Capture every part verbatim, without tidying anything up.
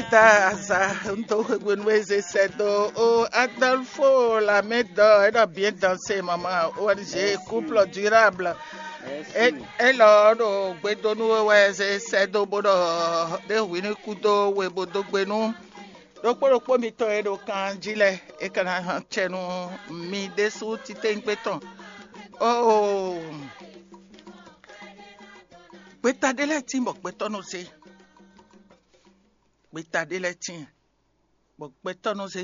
Ta azǎn dó hwenu e zé sɛ́ dó ó Adolfo Lamɛdɔ é ɖɔ bien dansé maman O N G couple durable. Élɔ́ ɖo gbedonu we wɛ zé sɛ́ dó bó ɖɔ ɖé hwi ní kú dó we bó dó gbe nú ɖokpó ɖokpó mitɔn e ɖo kan jí lɛ́ɛ é ka ná cɛ nú mi ɖésú titewungbe tɔn. Oo, gbeta ɖé lɛ́ɛ tín bɔ gbɛtɔ́ nɔ zé. Gbeta ɖé lɛ́ɛ tíin, bɔ gbɛtɔ́ nɔ zé.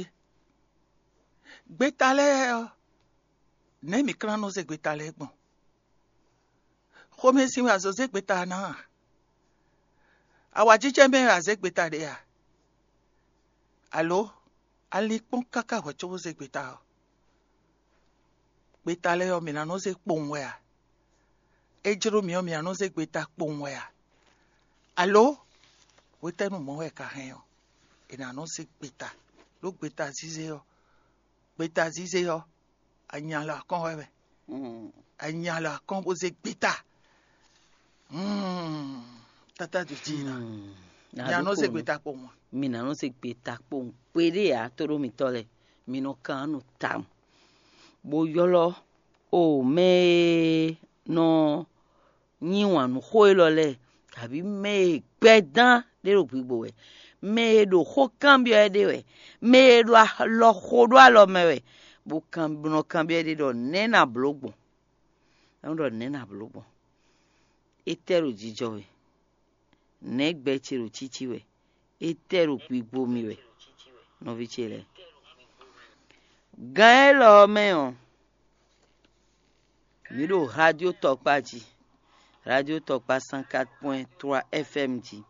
Gbeta lɛ́ɛ ɔ́, nɛ̌ mǐ ka ná nɔ zé gbeta lɛ́ɛ gbɔn? Xomɛsin wɛ a zǒ zé gbeta ná a? Awǎjijɛ mɛ wɛ a zě gbeta ɖe a? Alo a lin kpɔ́n káká hwɛ̌ cóbó zé gbeta ɔ́? Gbeta lɛ́ɛ ɔ́, mǐ ná nɔ zé kpowun wɛ a? É jló mǐ ɔ́, mǐ ná nɔ zé gbeta kpowun wɛ a? Alo hwetɛ́nu mɔ̌ wɛ è ka hɛn ɔ́, è nǎ nɔ zé gbeta? Ɖó gbeta zízé ɔ́, gbeta zízé ɔ́, anya lɔ akɔ́n wɛ mɛ. Anya lɔ akɔ́n bó zé gbeta. Tata do jí ná. Mǐ ná nɔ zé gbeta kpowun a? Mǐ ná nɔ zé gbeta kpowun kpéɖé ǎ, tóɖó mitɔ́ lɛ́ɛ, mi nɔ kan nú tawun, bó ylɔ́ o mɛ e nɔ nyi wǎn nú xó élɔ́ lɛ́ɛ, kabǐ mɛ e gbɛdán ɖé ɖo gbigbo wɛ, mɛ e ɖo xó kanbyɔ́ ɛ ɖe wɛ, mɛ e ɖo alɔ xo ɖó alɔ mɛ wɛ, bó kan bó nɔ kanbyɔ́ ɛ ɖe ɖɔ nɛ̌ na blǒ gbɔn? É nɔ ɖɔ nɛ̌ na blǒ gbɔn? Étɛ́ ɖo jijɔ wɛ? Nɛ̌ gbɛ ce ɖo cící wɛ? Étɛ́ ɖo gbigbo mì wɛ? Nɔví ce lɛ́ɛ, gan élɔ́ ɔ́ mɛ ɔ́, mǐ ɖo radio tɔkpá jí, radio tɔkpá cent quatre point trois F M jí,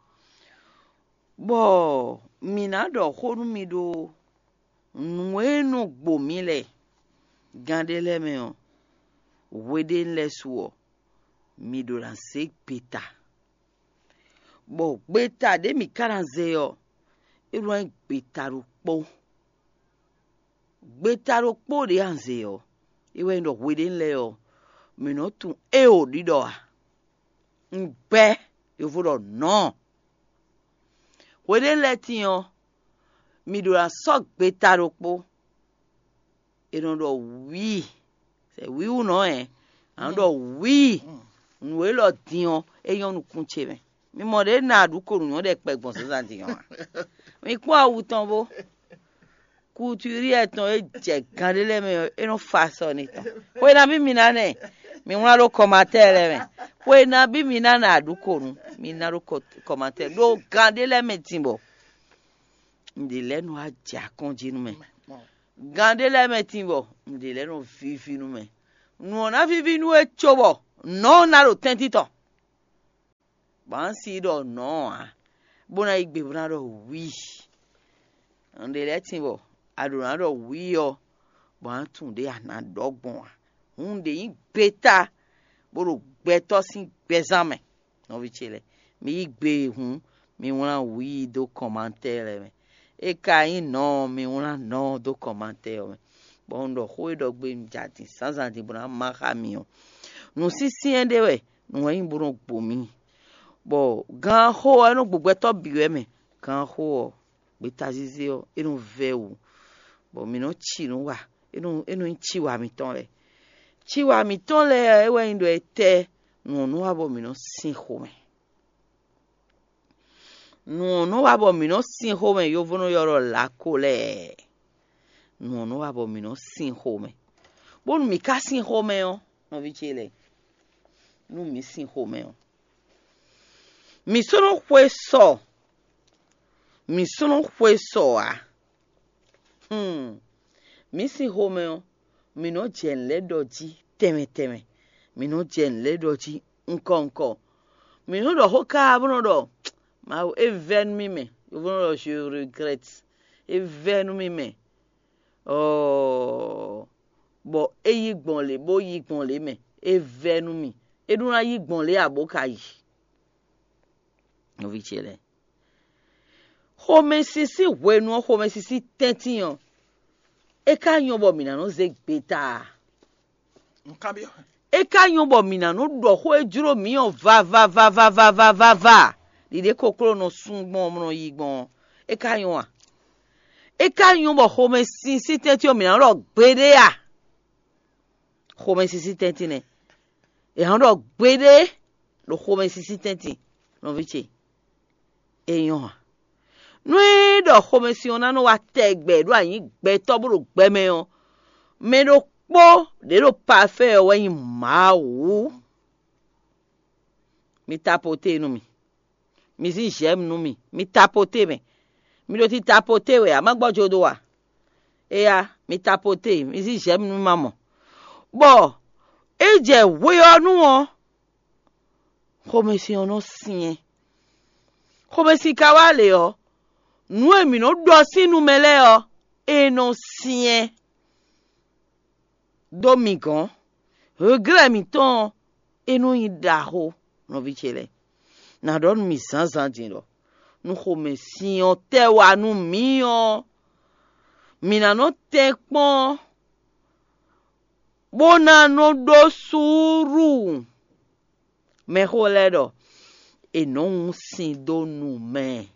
bɔ mǐ ná ɖɔ xó nú mi ɖó nǔ e nɔ gbo mǐ lɛ́ɛ. Gan ɖé lɛ́ɛ mɛ ɔ́, hweɖénu lɛ́ɛ su ɔ́, mi ɖo ná zé gbeta, bɔ gbeta ɖě mǐ ka ná zé ɔ́, é nɔ nyí gbeta ɖokpó. Gbeta ɖokpó ɖě a zě ɔ́, é wɛ nyí ɖɔ hweɖénu lɛ́ɛ ɔ́, mǐ nɔ́ tunwun éeǒ ɖiɖɔ ǎ. Un gbɛ́ yovo ɖɔ nɔ̌. Hweɖénu lɛ́ɛ tíin ɔ́, mǐ ɖo ná sɔ́ gbeta ɖokpó. È nɔ ɖɔ wǐi, sɛ wíwú nɔ ɛ, a nɔ ɖɔ wǐi. Nǔ élɔ́ din ɔ́, é nyɔ́ nukún ce mɛ. Mi mɔ ɖě na aɖǔ ko nǔ nyɔ́ ɖɛkpɛ gbɔn zǎnzǎn din ɔ́ a? Mi kpɔ́n awu tɔn bó. Kutúrí ɛtɔn e jɛ gan ɖé lɛ́ɛ mɛ ɔ́, é nɔ fa sɔ n'i tɔn. Xwe nabí mi ná nɛ? Mi wlán ɖó kɔmatɛ́ɛ lɛ́ɛ mɛ. Xwe nabí mi ná nɛ aɖǔ ko nú? Mi ná ɖó kɔmatɛ́ɛ ɖó gan ɖé lɛ́ɛ mɛ din bɔ un ɖě lɛ́ɛ nɔ wá jɛ akɔ́n jí nú mɛ. Gan ɖé lɛ́ɛ mɛ din bɔ un ɖě lɛ́ɛ nɔ víví nú mɛ. Nǔ ɔ́ ná víví nú we cóbɔ nɔ̌ ɔ́ ná ɖo tɛ́ntin tɔn. Bɔ a nǎ si ɖɔ nɔ̌ ǎ, bó ná yí gbe bó ná ɖɔ wǐi. Nǔɖé lɛ́ɛ tíin bɔ a ɖǒ ná ɖɔ wǐi ɔ́, bɔ a nǎ tunwun ɖě a nǎ ɖɔ gbɔn ǎ. Hǔn ɖě nyí gbeta bó ɖo gbɛtɔ́ sín gbɛzán mɛ. Nɔví ce lɛ́ɛ, mi yí gbe e hǔn, mi wlán wǐi dó kɔmantɛ́ɛ lɛ́ɛ mɛ. É ka nyí nɔ̌ ɔ́, mi wlán nɔ̌ ɔ́ dó kɔmantɛ́ɛ ɔ́ mɛ, bɔ un ɖɔ xó e ɖɔ gbe un ja din zǎnzǎn din bó ná má xá mi ɔ́. Nǔ syɛ́nsyɛ́n ɖé wɛ nǔ wɛ nyí bó nɔ gbo mì, bɔ gǎn xó ɔ́, é nɔ gbo gbɛtɔ́ bǐ wɛ mɛ. Gǎn xó ɔ́, gbeta zízé ɔ́, é nɔ vɛ́ wǔ, bɔ mǐ nɔ ci nǔ wa, é nɔ é nɔ nyí ciwa mǐtɔn lɛ́ɛ. Ciwa mǐtɔn lɛ́ɛ ɔ́, é wɛ nyí ɖɔ etɛ́ nǔ ɔ́ nɔ wa bɔ mǐ nɔ sin xomɛ. Nǔ ɔ́ nɔ wa bɔ mǐ nɔ sin xomɛ, yovo nɔ ylɔ́ ɖɔ lakolɛ́ɛ. Nǔ ɔ́ nɔ wa bɔ mǐ nɔ sin xomɛ. Bónú mǐ ka sin xomɛ ɔ́, nɔví ce lɛ́ɛ, nú mǐ sin xomɛ ɔ́, mǐ sɔ́ nɔ xwe sɔ, mǐ sɔ́ nɔ xwe sɔ ǎ. Hm, mǐ sin xomɛ ɔ́, mǐ nɔ jɛ nǔ lɛ́ɛ ɖɔ jí tɛnmɛ tɛnmɛ, mǐ nɔ jɛ nǔ lɛ́ɛ ɖɔ jí ŋkɔ ŋkɔ. Mǐ nɔ ɖɔ xó káá bó nɔ ɖɔ Mawu é vɛ́ nú mì mɛ, yovo nɔ ɖɔ je regrette, é vɛ́ nú mì mɛ. Ɔɔ, bɔ é yí gbɔn lě bó yí gbɔn lě mɛ, é vɛ́ nú mì. É ɖó ná yí gbɔn lě ǎ bó ka yi. Nɔví ce lɛ́ɛ, xomɛsin sín hwenu ɔ́, xomɛsin sín tɛ́ntin ɔ́, é ka nyɔ́ bɔ mǐ ná nɔ zé gbeta a? É ka nyɔ́ bɔ mǐ ná nɔ ɖɔ xó e jló mǐ ɔ́ vavavavavavava. Ɖiɖe kokló nɔ sún gbɔn ɔ́, nɔ yí gbɔn ɔ́, É ka nyɔ́ a? É ka nyɔ́ bɔ xomɛsin sín tɛ́ntin ɔ́ mǐ ná ɖɔ gbeɖé a? Xomɛsin sín tɛ́ntin nɛ́. È nǎ ɖɔ gbeɖé ɖo xomɛsin sín tɛ́ntin, nɔví ce. É nyɔ́ a? Nú é ɖɔ xomɛsin ɔ́ ná nɔ wá tɛgbɛ ɖó anyǐ gbɛtɔ́ bó ɖo gbɛ mɛ ɔ́, mɛ ɖokpó ɖě ɖo pafɛ́ ɔ́ wɛ nyí Mawu. Mi tapoté nú mì. Mi zí j'aime nú mì. Mi tapoté mɛ. Mi ɖo ti tapoté wɛ, a má gbɔ́ jo dó a? Éya, mi tapoté, mi zí j'aime nú mì ma mɔ. Bɔ é jɛ hwe ɔ́ nu ɔ́, xomɛsin ɔ́ nɔ syɛ́n. Xomɛsin ka wá lě ɔ́, nǔ e mǐ nɔ ɖɔ sín nu mɛ lɛ́ɛ ɔ́, é nɔ syɛ́n. Dó mi gɔ̌n. Hweglɛ́ mǐtɔn ɔ́, é nɔ nyí ɖaxó, nɔví ce lɛ́ɛ. Nǎ ɖɔ nú mi zǎnzǎn din ɖɔ nú xomɛsin ɔ́ tɛ́ wá nú mǐ ɔ́, mǐ ná nɔ tɛ́nkpɔ́n, bó ná nɔ ɖó suúlu. Mɛxó lɛ́ɛ ɖɔ è nɔ́ wún sin dó nu mɛ.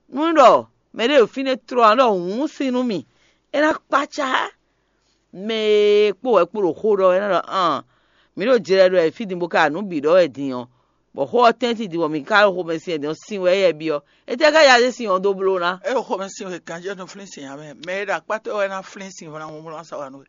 Nú ɖɔ mɛɖé ɖo fínɛ́ tló ǎ ɖɔ wǔnsin nú mì, é ná kpácá. Mɛ e kpó wɛ kpó ɖo xó ɖɔ wɛ é ná ɖɔ an, mǐ ɖo jlɛ ɖɔ wɛ fí din bó ka nǔ bǐ ɖɔ wɛ din ɔ́, bɔ xó ɔ́ tɛ́ntin din bɔ mǐ ka ɖo xomɛsin wɛ din ɔ́, sin wɛ éyɛ́ byɔ́. Étɛ́ ká yá zé sin ɔ́ dó bló ná? É ɖo xomɛsin wɛ ganjɛ́ nɔ flín sin ǎ mɛ. Mɛ e ɖo akpá towe wɛ ná flín sin ɔ́ ná wlán sa wa nú we.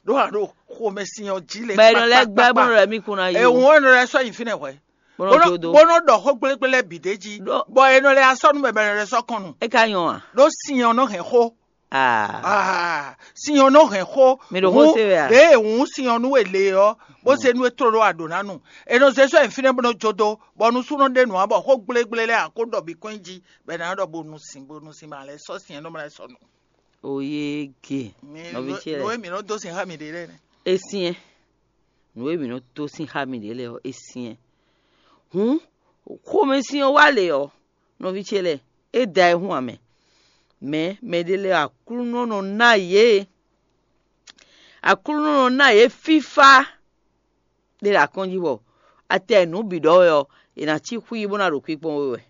Ɖó a ɖo xomɛsin ɔ́ jí lě. Bɔ è nɔ lɛ́ gbɛ́ bó nɔ lɛ́ mì kún ná yi. È wǔn è nɔ lɛ́ sɔ́ nyi fínɛ́ hwɛ̌. Bó nɔ jó dó. Bó nɔ ɖɔ xó gblégblé lɛ́ɛ bǐ d'é jí. Bɔ è nɔ lɛ́ sɔ́ nú bɛbɛ nɔ lɛ́ sɔ́ kɔn nu. É ka nyɔ́ a? Ɖó sin ɔ́ nɔ hɛn xó. Ah, sin ɔ́ nɔ hɛn xó. Mi ɖo xó se wɛ a? Ɖěe wǔn sin ɔ́ nú we lě ɔ́, bó se nú e tló ɖó aɖǒ ná nu. È nɔ zé sɔ́ nyi fínɛ́ bó nɔ jó dó, bɔ nusúnɔ ɖé nǔ ǎ bɔ xó gblégblé lɛ́ɛ ǎ kó ɖɔ bǐ kɔn nyi jí, bɔ è nǎ ɖɔ bó nu sin, bó nu sin ma lɛ́ sɔ́ sin ɔ́ nɔ ma lɛ́ sɔ́ nu. Oyége. Nɔví ce lɛ́ɛ. Nǔ e mǐ nɔ dó sin xá mǐɖée lɛ́ɛ nɛ́. É syɛ́n. Nǔ e mǐ nɔ dó sin xá mǐɖée lɛ́ɛ ɔ́, é syɛ́n. Hǔn, xomɛsin ɔ́ wá lě ɔ́, nɔví ce lɛ́ɛ, é da ayihún ǎ mɛ. Mɛ̌ mɛɖé lɛ́ɛ Aklúnɔ nɔ ná yě. Aklúnɔ nɔ ná yě fífá ɖé ɖo akɔ́n jí bɔ atɛ nǔ bǐ ɖɔ wɛ ɔ́, è nǎ cí xwí bó ná ɖo kpíkpɔ́n we wɛ.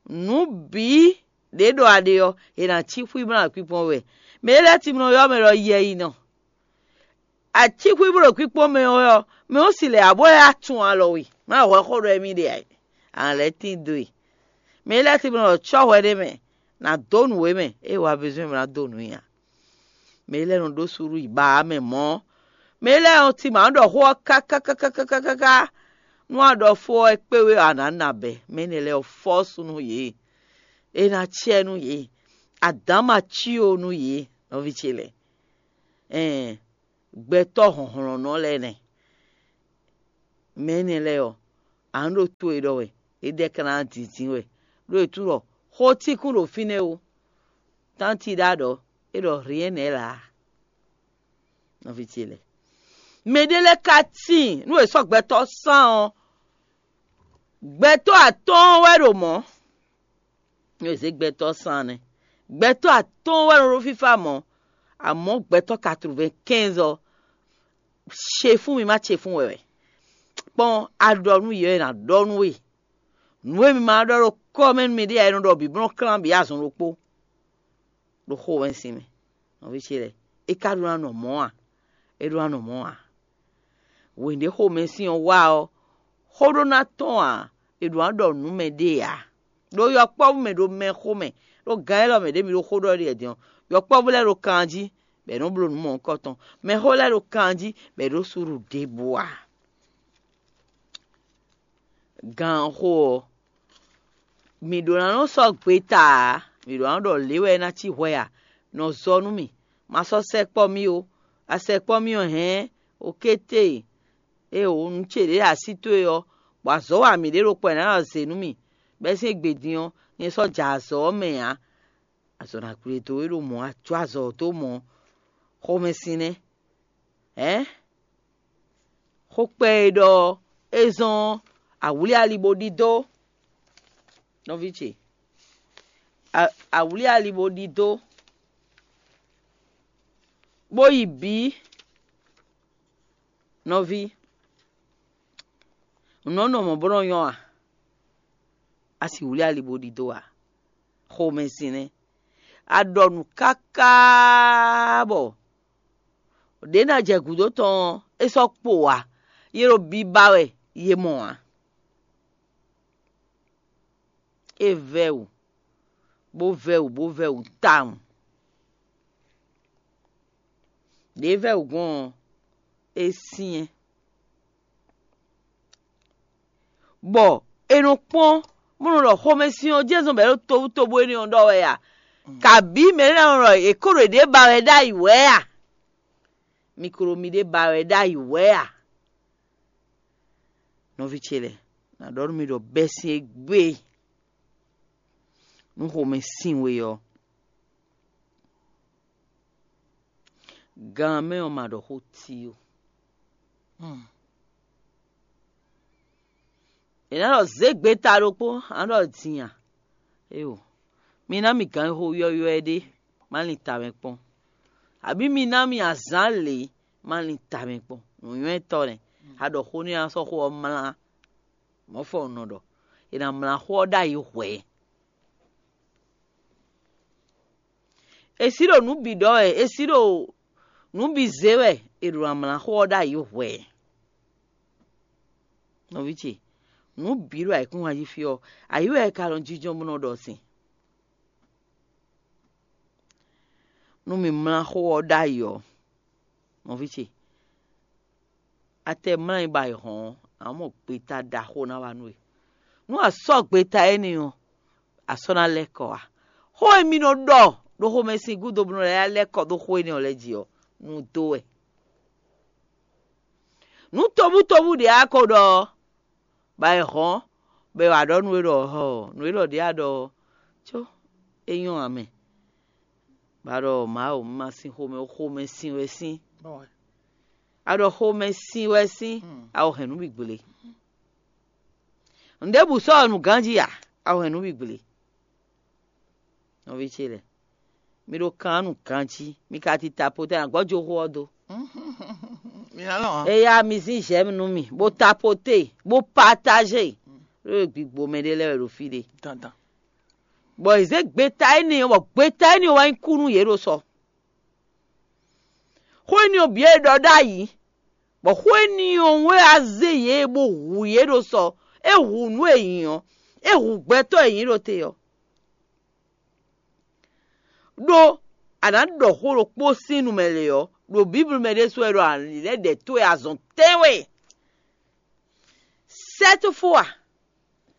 Nǔ bǐ ɖě ɖɔ a ɖe ɔ́, è nǎ cí xwí bó ná ɖo kpíkpɔ́n we wɛ. Mɛ e lɛ́ɛ timlɔ ylɔ́ mɛ ɖɔ yɛ yi nɔ. A cí xwí bó ɖo kpíkpɔ́n mɛ ɔ́, mɛ ɔ́ si lɛ̌ abó lɛ́ atun alɔ we, má hwɛ xó ɖɔ émí ɖe ǎ. A lɛ́ tín dó e. Mɛ e lɛ́ɛ timlɔ ɖɔ cɔ́ hwɛ ɖé mɛ, nǎ dó nǔ we mɛ, ée wa bezɔ́n mɛ ná dó nǔ nyi ǎ. Mɛ e lɛ́ɛ nɔ ɖó suɖú yi ba ǎ mɛ mɔ̌. Mɛ e lɛ́ɛ nɔ ti mǎ ɖɔ xó ɔ́ káká káká nú a ɖɔ fó ɔ́ é kpé we ɔ́, a nǎ na bɛ̌. Mɛ énɛ́ lɛ́ɛ ɔ́ fɔ́ sú nú yě. É ná cɛ nú yě. Adǎn ma cí ó nú yě, nɔví ce lɛ́ɛ. Ɛɛn, gbɛtɔ́ hlɔ̌nhlɔ́nnɔ lɛ́ɛ nɛ́. Mɛ énɛ́ lɛ́ɛ ɔ́, a nǎ ɖo to e ɖɔ wɛ, é ɖɛ́ ka ná dǐndín wɛ, ɖó è tunwun ɖɔ xó tíkún ɖo fínɛ́ ó. Tánti ɖá ɖɔ é ɖɔ rien n'est là. Nɔví ce lɛ́ɛ, mɛɖé lɛ́ɛ ka tíin nú è sɔ́ gbɛtɔ́ sán ɔ́, gbɛtɔ́ atɔ́ɔ́n wɛ ɖo mɔ̌. Nú è zě gbɛtɔ́ sán nɛ́, gbɛtɔ́ atɔ́ɔ́n wɛ nɔ ɖó fífá mɔ̌, amɔ̌ gbɛtɔ́ quatre-vingt-quinze ɔ́, ce fún mi má ce fún wɛ wɛ. Kpɔ́n a ɖɔ nú yě wɛ è nǎ ɖɔ nú we. Nǔ e mi ma ɖɔ ɖo kɔ́ mɛ nú miɖée ǎ, è nɔ ɖɔ bǐ bó nɔ klán bǐ azɔn ɖokpó ɖo xo wɛnsin mɛ. Nɔví ce lɛ́ɛ, é ka ɖó ná nɔ mɔ̌ a? É ɖó ná nɔ mɔ̌ ǎ. Wěɖé xomɛsin ɔ́ wá ɔ́, xó ɖó ná tɔ́n ǎ, è ɖǒ ná ɖɔ nǔ mɛ ɖée ǎ. Ɖó yɔkpɔ́vú mɛ ɖo mɛ xomɛ, ɖó gǎn élɔ́ mɛ ɖě mi ɖo xó ɖɔ ɖi wɛ din ɔ́, yɔkpɔ́vú lɛ́ɛ ɖo kan jí, bɔ è nɔ́ bló nǔ mɔ̌hunkɔtɔn. Mɛxó lɛ́ɛ ɖo kan jí, bɔ è ɖǒ suɖu ɖěbǔ ǎ. Gǎnxo ɔ́, mǐ ɖǒ ná nɔ sɔ́ gbeta ǎ, mǐ ɖǒ ná ɖɔ lě wɛ é ná cí hwɛ a? Nɔ zɔ nú mì, ma sɔ́ sɛkpɔ́ mì ó. A sɛkpɔ́ mì ɔ́, hɛ̌n, okété, ée o nǔ ce ɖě ɖo así towe ɔ́, bɔ azɔ̌ wa mǐɖée ɖokpó ɔ́ è nǎ nɔ zě nú mì, bɛ́ sín égbé din ɔ́, nyɛ sɔ́ ja azɔ̌ ɔ́ mɛ ǎ. Azɔ̌ ná kplé dó é ɖo mɔ̌, a jó azɔ̌ dó mɔ̌, xomɛsin nɛ́. Ɛ̌? Xó kpɛ e ɖɔ é zɔ́n awlí ali bó ɖidó, nɔví ce. A- awlí ali bó ɖidó, bó yi bǐ, nɔví. Nǔ nɔ nɔ mɔ̌ bó nɔ nyɔ́ a? A si wlí ali bó ɖidó a? Xomɛsin nɛ́. A ɖɔ nǔ káká bɔ ɖě ná jɛ gǔdo tɔn ɔ́, é sɔ́ kpo ǎ; yě ɖo biba wɛ yě mɔ ǎ. É vɛ́ wǔ, bó vɛ́ wǔ, bó vɛ́ wǔ tawun. Ɖě vɛ́ wǔ gbɔn ɔ́, é syɛ́n. Bɔ è nɔ kpɔ́n, bó nɔ ɖɔ xomɛsin ɔ́ jɛ́n zɔn bɔ é ɖo tobutóbú énɛ́ ɔ́ ɖɔ wɛ a? Kabǐ mɛ ɖé ná nɔ ɖɔ è ko ɖo yěɖée ba wɛ ɖ'ayǐ wɛ a? Mi ko ɖo miɖée ba wɛ ɖ'ayǐ wɛ a? Nɔví ce lɛ́ɛ, ná ɖɔ nú mi ɖɔ bɛ́sín égbé nú xomɛ sin we ɔ́, gan mɛ ɔ́ ma ɖɔ xó ti ó. È nǎ ɖɔ zě gbeta ɖokpó, a nǎ ɖɔ din a? Éeǒ. Mi ná mì ganxixo ylɔ́ylɔ́ ɖé, má lin tamɛ kpɔ́n. Abǐ mi ná mì azǎn lě, má lin tamɛ kpɔ́n. Nǔnywɛ́tɔ́ nɛ́, a ɖɔ xó nú a sɔ́ xó ɔ́ mlá. Mɔ̌ fɔ un nɔ ɖɔ, è nǎ mlá xó ɔ́ ɖ'ayǐ hwɛ̌. È sí ɖo nǔ bǐ ɖɔ wɛ, è sí ɖo nǔ bǐ zé wɛ, è ɖo amlǎ xó ɔ́ ɖ'ayǐ hwɛ̌. Nɔví ce, nǔ bǐ ɖo ayǐkúngban jí fí ɔ́, ayǐ wɛ è ka nɔ jínjɔ́n bó nɔ ɖɔ sin. Nú mi mlá xó ɔ́ ɖ'ayǐ ɔ́, nɔví ce, a tɛ mlá nyi bɔ ayǐ hɔn ɔ́, a mɔ gbeta ɖaxó ná wá nú we. Nú a sɔ́ gbeta énɛ́ ɔ́, a sɔ́ ná lɛ́ kɔ ǎ. Xó e mi nɔ ɖɔ ɖo xomɛsin gúdo bó nɔ lɛ́ lɛ́ kɔ dó xó énɛ́ ɔ́ lɛ́ɛ jí ɔ́, nǔ dó wɛ. Nǔ tobutóbú ɖě a ko ɖɔ ɔ́, bɔ è hɔn, bɔ è wǎ ɖɔ nú we ɖɔ hɔ, nǔ e ɖɔ ɖě a ɖɔ ɔ́, có é nyɔ́ ǎ mɛ. Bɔ a ɖɔ Mawu, un ma sin xomɛ ó, xomɛ sin wɛ sín. A ɖɔ xomɛ sin wɛ sín, a ko hɛn nǔ bǐ gblé. Nǔɖébǔ sɔ́ ɔ́ nǔ ganjí ǎ, a ko hɛn nǔ bǐ gblé. Nɔví ce lɛ́ɛ, mi ɖo kan nú ganjí, mi ka ti tapoté ná gbɔ́ jó xó ɔ́ dó. Mi ná lɔn ǎ. Eya mi zín j'aime nú mì, bó tapoté, bó partager. Ɖó gbigbo mɛ ɖé lɛ́ɛ wɛ ɖo fí ɖé. Dandan. Bɔ è zě gbeta énɛ́ ɔ́, bɔ gbeta énɛ́ ɔ́ wá nyí kú nú yě ɖo sɔ. Xó énɛ́ ɔ́ bǐ e ɖɔ ɖ'ayǐ, bɔ xó énɛ́ ɔ́ wɛ á zé yě bó hu yě ɖo sɔ. É hu nǔ e nyí ɔ́, é hu gbɛtɔ́ e nyí ɖo te ɔ́. Ɖó a nǎ ɖɔ xó ɖokpó sín nu mɛ lě ɔ́, ɖo Bíblu mɛ ɖésú wɛ ɖɔ alǐlɛ́ɖɛ towe azɔn tɛ́nwe. Sɛ́ tó fó a?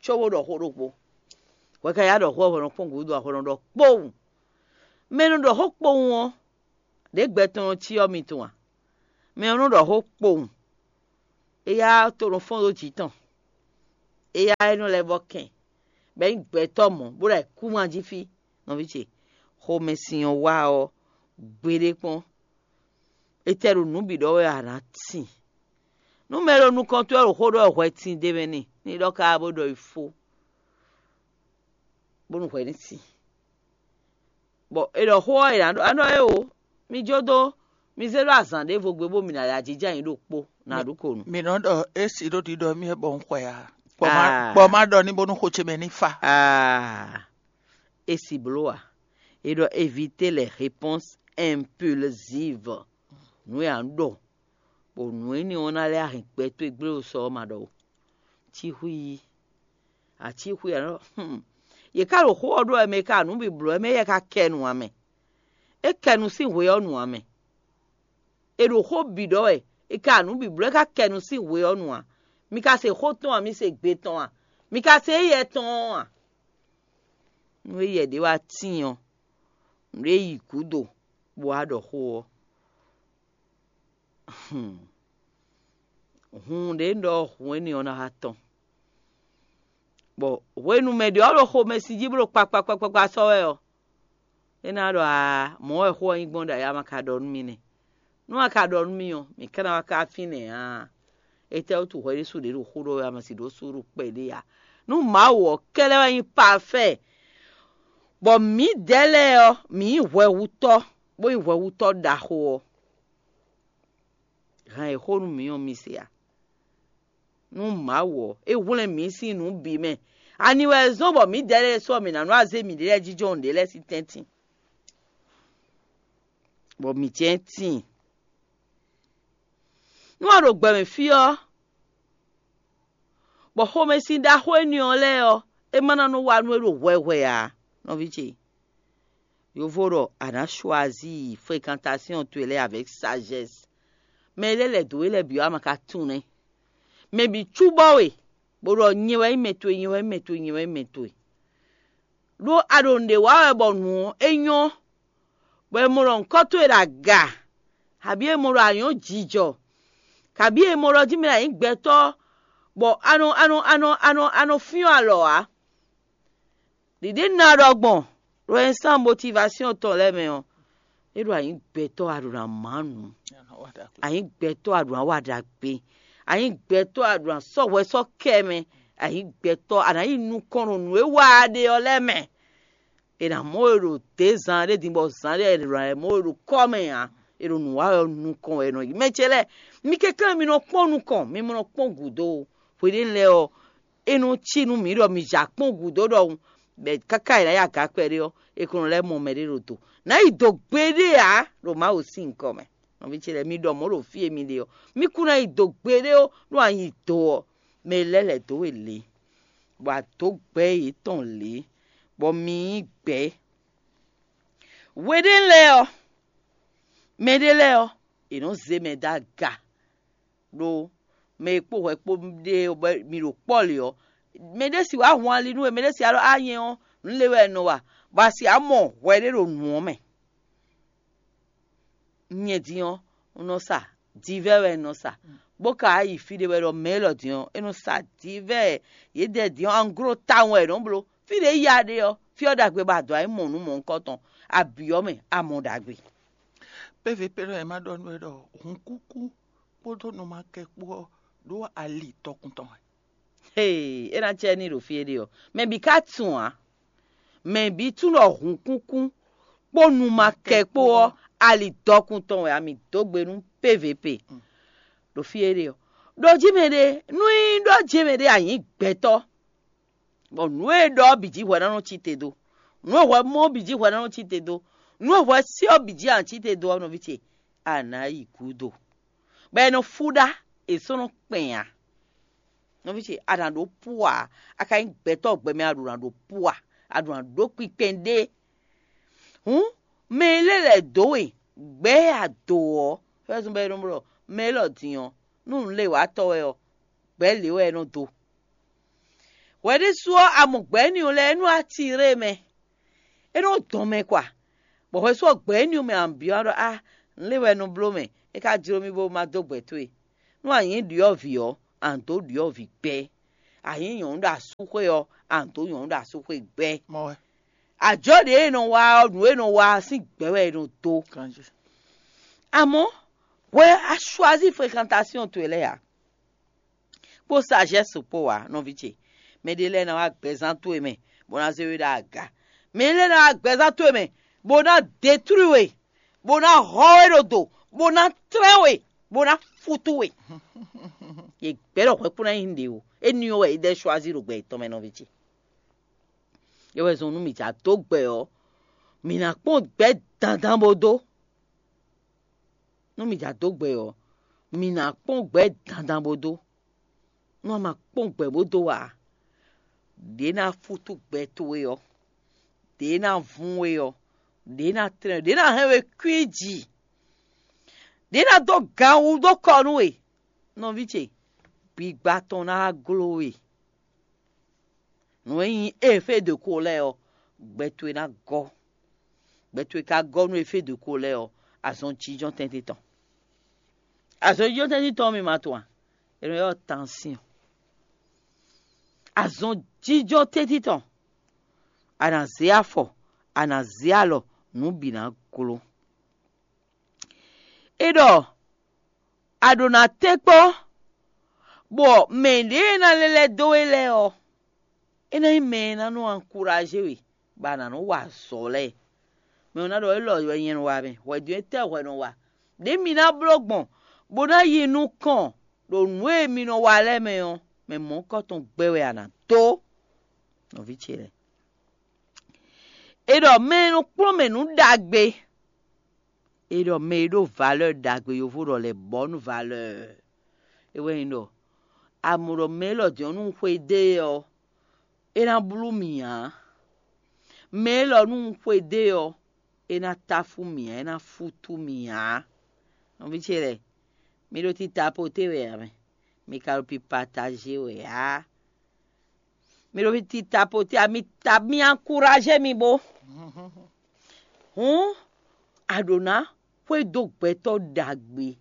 Cóbó ɖɔ xó ɖokpó. Hwɛ ka yá ɖɔ xó ɔ́ hwɛ nɔ kpɔ́n gǔdo a hwɛ nɔ ɖɔ kpowun. Mɛ e nɔ ɖɔ xó kpowun ɔ́, ɖě gbɛ tɔn nɔ cyɔ mi tɔn a? Mɛ ɔ́ nɔ ɖɔ xó kpowun. Éyá to nɔ fɔ́n ɖó jǐ tɔn. Éyá é nɔ lɛ́ vɔ kɛn, bɔ é nyí gbɛtɔ́ mɔ̌, bó ɖo ayǐkúngban jí fí. Nɔví ce, xomɛsin ɔ́ wá ɔ́, gbeɖé kpɔ́n. Étɛ́ ɖo nǔ bǐ ɖɔ wɛ a nǎ tin? Nú mɛ e ɖo nukɔn towe ɖo xó ɖɔ wɛ hwɛ tin d'é mɛ n'i, ní ɖɔ káká bó ɖɔ yi fó, bónú hwɛ ní tin. Bɔ è ɖɔ xó ɔ́, è nǎ ɖɔ é o, mi jó dó, mi zé ɖó azǎn ɖěvo gbe bó mi ná ya jínjɔ́n ayǐ ɖokpó, nǎ ɖu ko nu. Mi nɔ ɖɔ é si ɖó ɖiɖɔ mì wɛ bɔ un xwɛ ǎ. Kpɔ má kpɔ má ɖɔ ní bónú xó ce mɛ ní fa. Aa, é si bló ǎ. È ɖɔ éviter les réponses impulsives. Nǔ e a nǎ ɖɔ, bɔ nǔ énɛ́ ɔ́ ná lɛ́ hɛn gbɛ towe gblé ɖo sɔ ɔ́ ma ɖɔ o. Cíxwí yí. Acíxwí ǎ nɔ. Hmm. Yě ká ɖo xó ɔ́ ɖó wɛ mɛ e ka nǔ bǐ bló wɛ mɛ éyɛ́ ka kɛ nu ǎ mɛ. É kɛ nu sín hwe ɔ́ nu ǎ mɛ. È ɖo xó bǐ ɖɔ wɛ, è ka nǔ bǐ bló é ka kɛ nu sín hwe ɔ́ nu ǎ. Mi ka se xó tɔn a? Mi se gbe tɔn a? Mi ka se éyɛ tɔn ɔ́ a? Nú éyɛ ɖě wá tíin ɔ́, nǔɖé yi gǔdo bó wá ɖɔ xó ɔ́. Hun ɖě un ɖɔ hun énɛ́ ɔ́ ná wá tɔn. Bɔ hwenu mɛ ɖě ɔ́ ɖo xomɛsin jí bó ɖo kpakpakpakpakpa sɔ́ wɛ ɔ́, é ná ɖɔ aa, mɔ̌ wɛ xó ɔ́ nyí gbɔn ɖo aya ma ka ɖɔ nú mi nɛ́. Nú a ka ɖɔ nú mì ɔ́, mǐ ká ná wá ká fínɛ́ ǎ. Étɛ́wútu hwɛ ɖésú ɖě ɖo xó ɖɔ wɛ a ma si ɖǒ sú ɖo kpɛɖé ǎ? Nú Mawu ɔ́ kɛ́ɖɛ́ wɛ nyí pafɛ́, bɔ mǐdɛɛ lɛ́ɛ ɔ́, mǐ nyí hwɛhutɔ́, bó nyí hwɛhutɔ́ ɖaxó ɔ́, hɛn e xó nú mǐ ɔ́ mi se a? Nú Mawu ɔ́, é hwlɛ́n mǐ sín nǔ bǐ mɛ. Ani wɛ zɔ́n bɔ mǐdɛɛ lɛ́ɛ sɔ́ mǐ ná nɔ azé mǐɖée lɛ́ɛ jínjɔ́n nǔɖé lɛ́ɛ sín tɛ́ntin, bɔ mǐ jɛ́n tíin. Nú a ɖo gbɛ mɛ fí ɔ́, bɔ xomɛsin ɖaxó énɛ́ ɔ́ lɛ́ɛ ɔ́, é ma ná nɔ wa nú we ɖo hwɛhwɛ ǎ, nɔví ce. Yovo ɖɔ a nǎ choisir fréquentation towe lɛ́ɛ avec sagesse. Mɛ e lɛ́ lɛ̌ dó we lɛ́ɛ bǐ ɔ́, a ma ka tunwun nɛ́. Mɛ bǐ cúbɔ we, bó ɖɔ nyɛ wɛ nyí mɛ towe, nyɛ wɛ nyí mɛ towe, nyɛ wɛ nyí mɛ towe. Ɖó a ɖo nǔɖé wa wɛ bɔ nǔ ɔ́ é nyɔ́, bɔ è mɔ ɖɔ nyǐkɔ towe ɖo aga, abǐ è mɔ ɖɔ a nyɔ̌ jijɔ, kabǐ è mɔ ɖɔ jí mɛ a nyǐ gbɛtɔ́, bɔ a nɔ a nɔ a nɔ a nɔ a nɔ fyɔ́n alɔ ǎ. Ɖiɖě un ná ɖɔ gbɔn ɖo ɛnsan motivasiɔn tɔn lɛ́ɛ mɛ ɔ́, é ɖo a nyǐ gbɛtɔ́ a ɖo ná má nǔ, a nyǐ gbɛtɔ́ a ɖo ná wa ɖagbe, a nyǐ gbɛtɔ́ a ɖo ná sɔ́ hwɛ sɔ́ kɛ mɛ, a nyǐ gbɛtɔ́ a nǎ yi nukɔn ɖo nǔ e wa a ɖe ɔ́ lɛ́ɛ mɛ. È nǎ mɔ we ɖo dě zan ɖé din bɔ zan ɖé è nɔ mɔ we ɖo kɔ́ mɛ ǎ. È ɖo nǔ wa wɛ ɔ́ nukɔn wɛ è nɔ yi. Mɛ ce lɛ́ɛ, mi kɛnklɛ́n mi nɔ kpɔ́n nukɔn, mi ma nɔ kpɔ́n gǔdo ó. Hweɖénu lɛ́ɛ ɔ́, é nɔ cí nú mǐ ɖɔ mi ja kpɔ́n gǔdo ɖɔhun, bɔ káká è nǎ yi aga kpɛɖé ɔ́, è ko nɔ lɛ́ mɔ mɛɖé ɖo do. Nǎ yi do gbeɖé ǎ ɖo Mawu sín nyǐkɔ mɛ. Nɔví ce lɛ́ɛ, mi ɖɔ mɔ̌ ɖo fí e mi ɖe ɔ́, mi kún ná yi do gbeɖé ó, ɖó a nyi do ɔ́, mɛ e lɛ́ lɛ̌ dó we lě, bɔ a dǒ gbɛ̌ yětɔn lě, bɔ mi nyí gbɛ̌. Hweɖénu lɛ́ɛ ɔ́, mɛɖé lɛ́ɛ ɔ́, è nɔ́ zé mɛ dó aga, ɖó mɛ e kpó hwɛ kpó ɖe mi ɖo kpɔ́ lě ɔ́, mɛ ɖé si wǎ hun ali nú we, mɛ ɖé si wá ɖɔ á nyɛ ɔ́, nǔ lě wɛ un nɔ wa, bɔ a si wǎ mɔ hwɛ ɖé ɖo nǔ ɔ́ mɛ. Nyɛ din ɔ́, un nɔ sa divɛ́ wɛ un nɔ sa, bó ka wá yi fí ɖé wɛ ɖɔ mɛ élɔ́ din ɔ́, é nɔ sa divɛ́ yědɛɛ din ɔ́, anglo tawun wɛ è nɔ́ bló. Fí ɖě ya ɖe ɔ́, fí ɔ́ ɖagbe bɔ a dǒ wá yi mɔ nǔ mɔ̌hunkɔtɔn, a byɔ́ mɛ, a mɔ ɖagbe. P V P ɖɔ è ma ɖɔ nú we ɖɔ hunkúkú kpódó numakɛ kpó ɔ́ ɖó ali tɔkun tɔn wɛ. Hee, é ná cɛ ní ɖo fí é ɖe ɔ́, mɛ bǐ ka tunwun ǎ. Mɛ bǐ tunwun ɖɔ hunkúkú kpó numakɛ kpó ɔ́, ali dɔkun tɔn wɛ a mi dó gbe nú P V P ɖo fí é ɖe ɔ́. Ɖo jí mɛ ɖé, nú nyí ɖɔ jí mɛ ɖé a nyǐ gbɛtɔ́, bɔ nǔ e ɖɔ ɔ́ bǐ jí hwɛ ná nɔ cí te dó, nǔ e hwɛ mɔ ɔ́ bǐ jí hwɛ ná nɔ cí te dó, nǔ e hwɛ sí ɔ́ bǐ jí a nɔ cí te dó ɔ́, nɔví ce, a nǎ yi gǔdo, bɔ è nɔ fú ɖá, è sɔ́ nɔ kpɛn ǎ. Nɔví ce, a nǎ ɖó pú ǎ, a ka nyí gbɛtɔ́ gbɛmɛ a ɖǒ ná ɖó pú ǎ, a ɖǒ ná ɖó kpinkpɛn ɖé. Hǔn mɛ e lɛ́ lɛ̌ dó we gbɛ̌ e a dǒ ɔ́, fɛ́zún bɔ é nɔ blɔ mɛ élɔ́ din ɔ́, nú nǔléwatɔ́ wɛ ɔ́, gbɛ̌ lě wɛ é nɔ dó. Hwɛ ɖésú ɔ́, a mɔ gbɛ̌ énɛ́ ɔ́ lɛ́ɛ é nɔ atirée mɛ, é nɔ dɔn mɛ kwa, bɔ hwɛsú ɔ́ gbɛ̌ énɛ́ ɔ́ mɛ a nǎ byɔ́ ɖɔ á, nǔ lě wɛ un nɔ bló mɛ, é ka jló mì bónú má dó gbɛ towe. Nú a nyǐ ɖyɔ̌vǐ ɔ́, a nǎ dó ɖyɔ̌vǐ gbɛ́; a nyǐ nyɔ̌nu ɖo asúxwé ɔ́, a nǎ dó nyɔ̌nu ɖo asúxwé gbɛ́. Mɔ̌ wɛ. Ajɔ̌ ɖě e nɔ wa ɔ́, nǔ e nɔ wa ɔ́ sín gbɛ̌ wɛ è nɔ dó. Kanjí. Amɔ̌, hwɛ a choisir fréquentation towe lɛ́ɛ ǎ, kpó sagesse kpó ǎ, nɔví ce. Mɛɖé lɛ́ɛ ná wá gbɛzán towe mɛ, bó ná zé we ɖó aga. Mɛ lɛ́ɛ ná wá gbɛzán towe mɛ, bó ná détruire we, bó ná hɔ we ɖo do, bó ná tlɛ́n we, bó ná fútú we. Yě gbɛ́ ɖɔ hwɛ kún ná nyí nǔɖé ó. Énɛ́ ɔ́ wɛ é ɖɛ́ choisir ɖo gbɛ yětɔn mɛ, nɔví ce. É wɛ zɔn nú mǐ jǎ dó gbɛ ɔ́, mǐ ná kpɔ́n gbɛ̌ dandan bó dó. Nú mǐ jǎ dó gbɛ ɔ́, mǐ ná kpɔ́n gbɛ̌ dandan bó dó. Nú a ma kpɔ́n gbɛ̌ bó dó ǎ, ɖě ná fútú gbɛ towe ɔ́, ɖě ná vún we ɔ́, ɖě ná tlɛ́n, ɖě ná hɛn we kwíji, ɖě ná dó gan wú dó kɔ nú we. Nɔví ce, gbigba tɔn ná wá gló we. Nǔ e nyí éfé de ko lɛ́ɛ ɔ́, gbɛ towe ná gɔ́. Gbɛ towe ka gɔ́ nú éfé de ko lɛ́ɛ ɔ́, azɔn jínjɔ́n tɛ́ntin tɔn. Azɔn jínjɔ́n tɛ́ntin tɔn ɔ́ mi ma tunwun a? È nɔ ylɔ́ tansyɔn. Azɔn jínjɔ́n tɛ́ntin tɔn, a nǎ zé afɔ, a nǎ zé alɔ, nǔ bǐ ná gló. É ɖɔ a ɖǒ ná tɛ́nkpɔ́n, bɔ mɛ ɖě e ná lɛ́ lɛ́ dó we lɛ́ɛ ɔ́, é ná nyí mɛ e ná nɔ ankuraje we, bɔ a nǎ nɔ wa azɔ̌ lɛ́ɛ. Mɛ ɔ́ ná ɖɔ élɔ́ wɛ nyɛ nɔ wa mɛ, hwɛ̌dó étɛ́ hwɛ nɔ wa? Ɖě mi ná bló gbɔn, bó ná yi nukɔn ɖo nǔ e mi nɔ wa lɛ́ɛ mɛ ɔ́, mɛ mɔ̌hunkɔtɔn gbɛ wɛ a nǎ dó. Nɔví ce lɛ́ɛ, è ɖɔ mɛ e nɔ kplɔ́n mɛ nǔ ɖagbe, è ɖɔ mɛ e ɖó valeur ɖagbe, yovo ɖɔ lɛ bɔ̌ nú valeur. É wɛ nyí ɖɔ a mɔ ɖɔ mɛ élɔ́ din ɔ́, nú un xwedó e ɔ́, é ná blú mì ǎ. Mɛ élɔ́, nú un xwedó e ɔ́, é ná táfú mì ǎ, é ná fútú mì ǎ. Nɔví ce lɛ́ɛ, mi ɖo tita poté wɛ ǎ mɛ, mi ka ɖo pi pataje wɛ ǎ. Mi ɖo tita poté ǎ, mi ta mi ankuraje mi bó. Hǔn a ɖǒ ná xwedó gbɛtɔ́ ɖagbe.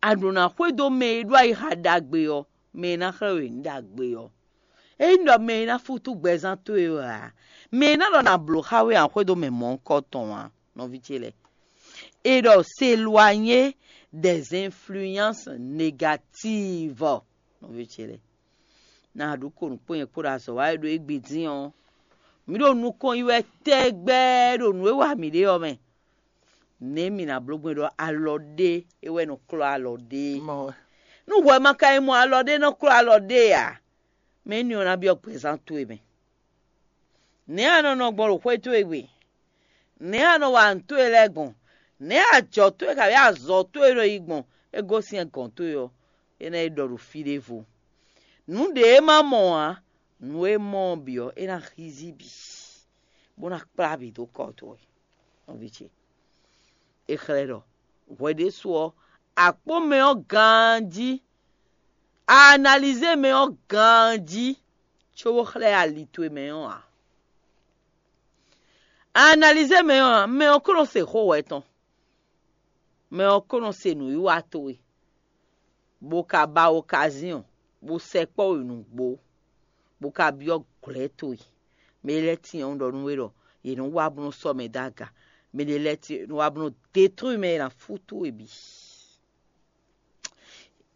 A ɖǒ ná xwedó mɛ e ɖó ayixa ɖagbe ɔ́, mɛ e ná xlɛ́ we nǔ ɖagbe ɔ́. Ényí ɖɔ mɛ e ná fútú gbɛzán towe wɛ ǎ, mɛ e ná ɖɔ nǎ bló xá we ǎ, xwedó mɛ mɔ̌hunkɔtɔn ǎ, nɔví ce lɛ́ɛ. È ɖɔ s'éloigner des influences négatives, nɔví ce lɛ́ɛ. Ná a ɖu ko nǔkpɔ́n nyɛ kpó ɖo azɔ̌ wa e ɖo égbé dín ɔ́, mǐ ɖo nukɔn yi wɛ tɛgbɛ ɖo nǔ e wa mǐ ɖe ɔ́ mɛ. Nɛ̌ mǐ ná bló gbɔn ɖɔ alɔ ɖé é wɛ nɔ klɔ́ alɔ ɖé? Mɔ wɛ. Nú hwɛ ma ka yi mɔ alɔ ɖé nɔ klɔ́ alɔ ɖé ǎ, mɛ énɛ́ ɔ́ ná byɔ́ gbɛzán towe mɛ. Nɛ̌ a nɔ nɔ gbɔn ɖo xwé towe gbe? Nɛ̌ a nɔ wa nǔ towe lɛ́ɛ gbɔn? Nɛ̌ ajɔ̌ towe kabǐ azɔ̌ towe nɔ yi gbɔn? É gosín gɔ̌n towe ɔ́, é ná yi ɖɔ ɖo fí ɖěvo. Nǔ ɖě e ma mɔ ǎ, nǔ e mɔ ɔ́ bǐ ɔ́, é ná hízí bǐ, bó ná kplá bǐ dó kɔ towe, nɔví ce. È xlɛ́ ɖɔ hwɛ ɖésú ɔ́, a kpɔ́n mɛ ɔ́ ganjí, a analizé mɛ ɔ́ ganjí, cóbó xlɛ́ ali towe mɛ ɔ́ ǎ. A analizé mɛ ɔ́ ǎ, mɛ ɔ́ ko nɔ se xó hwɛ tɔn, mɛ ɔ́ ko nɔ se nǔwiwa towe, bó ka ba okazíɔn, bó sɛkpɔ́ we nǔgbó, bó ka byɔ́ glɔ̌ towe. Mɛ e lɛ́ tyɔ́n ɖɔ nú we ɖɔ yě nɔ wá bó nɔ́ sɔ́ mɛ dó aga. Mɛ e lɛ́ tyɔ́n nɔ wá bó nɔ́ detúwi mɛ e ná fútú we bǐ.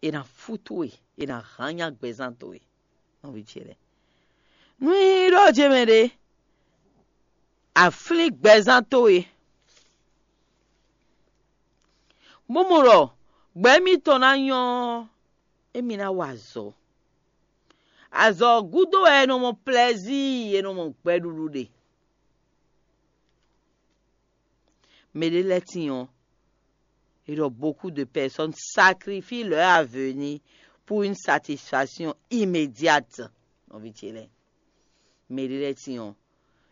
È nǎ fútú we, è nǎ hán nyá gbɛzán towe, nɔví ce lɛ́ɛ. Nú nyí ɖɔ ce mɛ ɖé, a flín gbɛzán towe, bó mɔ ɖɔ gbɛ mitɔn ná nyɔ́ ɔ́, émí ná wa azɔ̌. Azɔ̌ ɔ́ gúdo wɛ è nɔ mɔ plɛzíi, è nɔ mɔ gbɛɖuɖu ɖe. Mɛ ɖé lɛ́ɛ tíin ɔ́, è ɖɔ beaucoup de personnes sacrifient leur avenir pour une satisfaction immédiate. Nɔví ce lɛ́ɛ, mɛ ɖé lɛ́ɛ tíin ɔ́,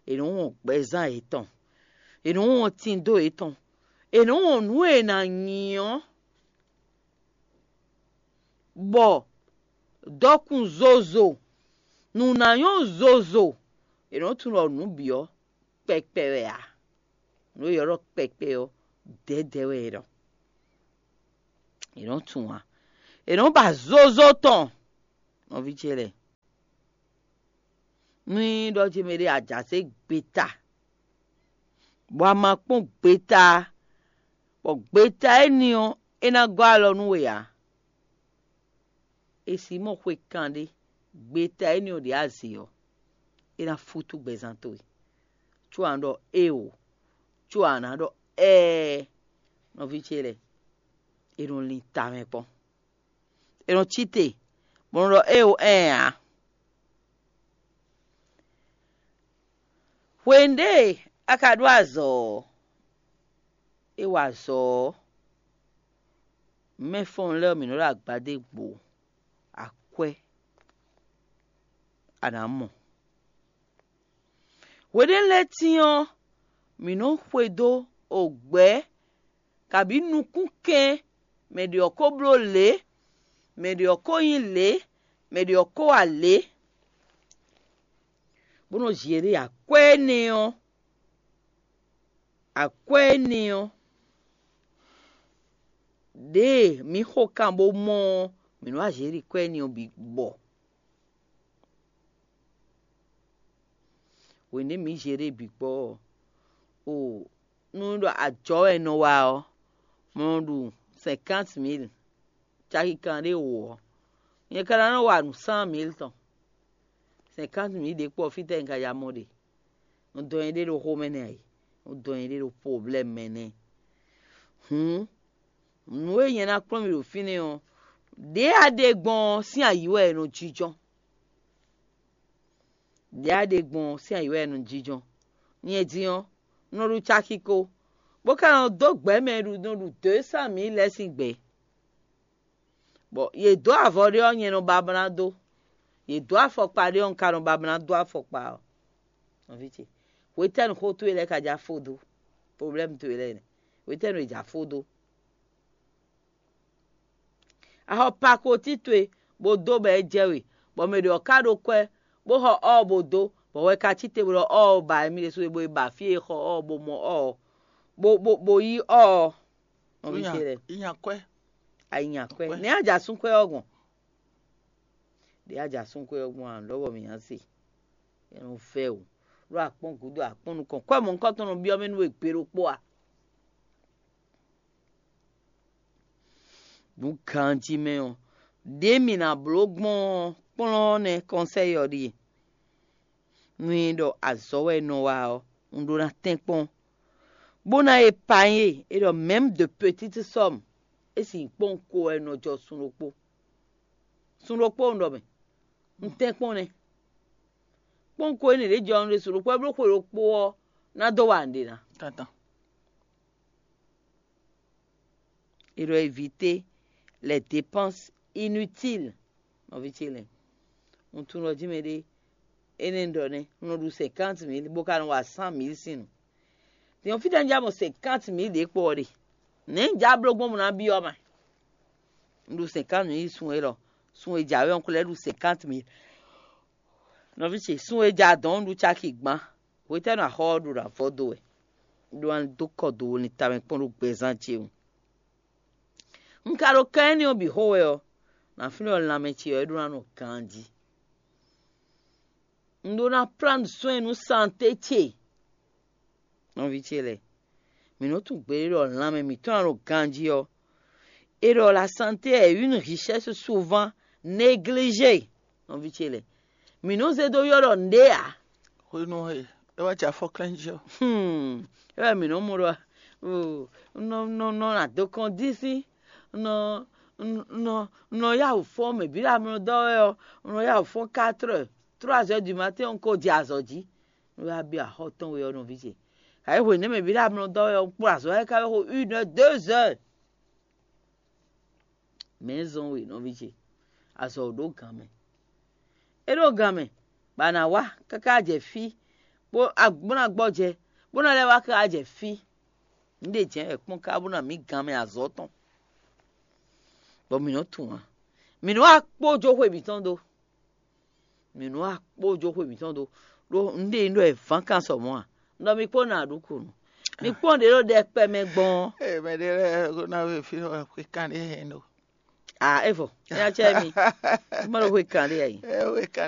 è nɔ wɔn gbɛzán yětɔn, è nɔ wɔn tindo yětɔn, è nɔ wɔn nǔ e è nǎ nyi ɔ́, bɔ dɔkun zozo, nǔ ná nyɔ́ zozo, è nɔ tunwun ɖɔ nǔ bǐ ɔ́ kpɛkpɛ wɛ ǎ. Nǔ e è ylɔ́ ɖɔ kpɛkpɛ ɔ́, dɛ̌dɛ̌ wɛ è nɔ è nɔ tunwun ǎ. È nɔ ba zozo tɔn, nɔví ce lɛ́ɛ. Nú nyí ɖɔ ce mɛ ɖé a jǎ sɛ́ gbeta, bɔ a ma kpɔ́n gbeta, bɔ gbeta éní ɔ́, é ná gɔ́ alɔ nú we ǎ. È sǐ mɔ xwe kanɖé, gbeta éní ɔ́ ɖě a zě ɔ́, é ná fútú gbɛzán towe. Có a nǎ ɖɔ éeǒ, có a nǎ ɖɔ ɛɛ, nɔví ce lɛ́ɛ, è nɔ lin tamɛ kpɔ́n. È nɔ cí te, bɔ un ɖɔ éeǒ ɛɛ ǎ. Hwenu ɖě a ka ɖó azɔ̌ ɔ́, é wa azɔ̌ ɔ́, mɛfɔ́n lɛ́ɛ ɔ́, mǐ nɔ́ ɖo agbadé gbo akwɛ́ a nǎ mɔ. Hweɖěnu lɛ́ɛ tíin ɔ́, mǐ nɔ́ xwedó ogbɛ̌ kabǐ nukúnkɛn, mɛ ɖě ɔ́ ko bló lě, mɛ ɖě ɔ́ ko nyí lě, mɛ ɖě ɔ́ ko wa lě, bó nɔ́ zě ɖe akwɛ́ énɛ́ ɔ́, akwɛ́ énɛ́ ɔ́, ɖěe mǐ xo kan bó mɔ ɔ́, mǐ nɔ́ wá zě ɖi kwɛ́ énɛ́ ɔ́ bǐ gbɔ. Hwenu e mǐ zě ɖe bǐ gbɔ ɔ́, o nú ɖɔ ajɔ̌ wɛ è nɔ wa ɔ́, mɔ ɖu cinquante mille, caki kanɖé wǒ ɔ́, nyɛ ka ná nɔ wa nǔ cent mille tɔn. Cinquante mille ɖě kpɔ fítɛ́ un ka ja mɔ ɖe? Un dɔn nyɛɖée ɖo xomɛ nɛ́ a? Un dɔn nyɛɖée ɖo problème mɛ nɛ́. Hǔn, nǔ e nyɛ ná kplɔ́n mi ɖo fínɛ́ ɔ́, ɖěe a ɖe gbɔn ɔ́ sín ayǐ wɛ è nɔ jínjɔ́n. Ɖě a ɖe gbɔn ɔ́, sín ayǐ wɛ un nɔ jínjɔ́n. Nyɛ din ɔ́, un nɔ ɖu caki ko, bó ka nɔ dó gbɛ̌ mɛ e ɖu nɔ ɖu deux cent mille lɛ́ɛ sín gbɛ. Bɔ yě dó avɔ ɖé ɔ́, nyɛ nɔ ba bó ná dó; yě dó afɔkpa ɖé ɔ́, un ka nɔ ba bó ná dó afɔkpa ɔ́. Nɔví ce, hwetɛ́nu xó towe lɛ́ɛ ka ja fó dó? Problɛ́mu towe lɛ́ɛ nɛ́. Hwetɛ́nu è ja fó dó? A xɔ pakoti towe bó dó bɔ é jɛ we, bɔ mɛ ɖě ɔ́ ka ɖó kwɛ́, bó xɔ ɔ́ bó dó, bɔ hwɛ ka cí te bó ɖɔ ɔ́ ba émí ɖésú é, bó yi ba fí e xɔ ɔ́ bó mɔ ɔ́, bó bó bó yí ɔ́. Nɔví ce lɛ́ɛ, yi nya kwɛ́. A yi nya kwɛ́. Nɛ̌ a ja sún kwɛ́ ɔ́ gbɔn? Ɖě a ja sún kwɛ́ ɔ́ gbɔn a, lɔbɔ mǐ ná se. É nɔ vɛ́ o. Ɖó akpɔ́n gǔdo akpɔ́n nukɔn, kwɛ́ mɔ̌hunkɔtɔn nɔ byɔ́ mɛ nú we gbe ɖokpó a? Nǔ ganjí mɛ ɔ́, ɖě mǐ ná bló gbɔn ɔ́, kplɔ́n ɔ́ nɛ́ kɔnsɛ́yi ɔ́ ɖíe. Nú é ɖɔ azɔ̌ wɛ un nɔ wa ɔ́, un ɖó ná tɛ́nkpɔ́n, bó ná épargne é ɖɔ même de petites sommes, é sin kpɔ́n ko wɛ un nɔ jɔ sun ɖokpó. Sun ɖokpó un ɖɔ mɛ, un tɛ́nkpɔ́n nɛ́. Kpɔ́n ko énɛ́ ɖě jɔ un ɖe sun ɖokpó wɛ bló xwe ɖokpó ɔ́ ná dó wa nǔɖé ná. Tantan. Il doit éviter les dépenses inutiles. Nɔví ce lɛ́ɛ, un tunwun ɖɔ jí mɛɖé énɛ́ un ɖɔ nɛ́, un nɔ ɖu cinquante mille bó ka nɔ wa cent mille sín nǔ. Din ɔ́, fítɛ́ un já mɔ cinquante mille ɖě kpo ɔ́ ɖe? Nɛ̌ un já bló gbɔn bó ná byɔ́ ma? Un ɖu cinquante mille sun élɔ́, sun e jǎwe ɔ́, un ko lɛ́ ɖu cinquante mille. Nɔví ce, sun e ja dɔ̌n un ɖu caki gbán. Hwetɛ́nu axɔ ɔ́ ɖo ná vɔ dó wɛ? Ɖó ná dó kɔ dó wo lin tamɛ kpɔ́n ɖó gbɛzán ce wú. Un ka ɖo kan énɛ́ ɔ́ bǐ xo wɛ ɔ́, nǎ flín ɔ́ lanmɛ ce ɔ́ é ɖó ná nɔ ganjí. Un ɖó ná plán soin nú santé ce. Nɔví ce lɛ́ɛ, mǐ nɔ tunwun gbeɖé ɖɔ lanmɛ mǐtɔn ná nɔ ganjí ɔ́, é ɖɔ la santé est une richesse souvent négligée. Nɔví ce lɛ́ɛ, mǐ nɔ zé dó ylɔ́ ɖɔ nǔɖé ǎ. Hwenu e é wá jɛ afɔklɛ́n jí ɔ́. Hmm, é wɛ mǐ nɔ mɔ ɖɔ, oh, un nɔ un nɔ un nɔ nɔ adokɔn dín sín, un nɔ un nɔ un nɔ yá wǔ fɔ́n mɛ bǐ ɖo amlɔ dɔ́ wɛ ɔ́, un nɔ yá wǔ fɔ́n quatre heures, trois heures du matin un ko jɛ azɔ̌ jí. Un wá byɔ́ axɔ́ tɔn we ɔ́ nɔví ce. Ayǐ hwenu mɛ bǐ ɖo amlɔ dɔ́ wɛ ɔ́, un kplɔ́n azɔ̌ lɛ́ɛ ká wɛ xo une heure, deux heures. Mɛ̌ zɔn we nɔví ce? Azɔ̌ ɔ́ ɖó gǎn mɛ. É ɖó gǎn mɛ, bɔ a nǎ wá káká jɛ fí, bó a bó ná gbɔjɛ, bó ná lɛ́ wá káká jɛ fí. Nǔ ɖě jɛ́n wɛ kpɔ́n ká bó ná mǐ gǎn mɛ azɔ̌ tɔn, bɔ mǐ nɔ́ tunwun ǎ. Mǐ nɔ́ wá kpó jó xwe mǐtɔn dó. Mǐ nɔ́ wá kpó jó xwe mǐtɔn dó, ɖó nǔ ɖě nyí ɖɔ è vǎn kan sɔ mɔ̌ ǎ. Un ɖɔ mi kpó nɔ aɖǔkǔnu. Mi kpɔ́n ɖě ɖo ɖɛkpɛ mɛ gbɔn ɔ́. Ee, mɛ ɖé lɛ́ɛ ko ná wé fí xwe kanɖé hɛn ɖo. Ah, é vɔ, é ná cɛ mi. Má ɖo xwe kanɖé ayi. Ɛ wé kanɖé.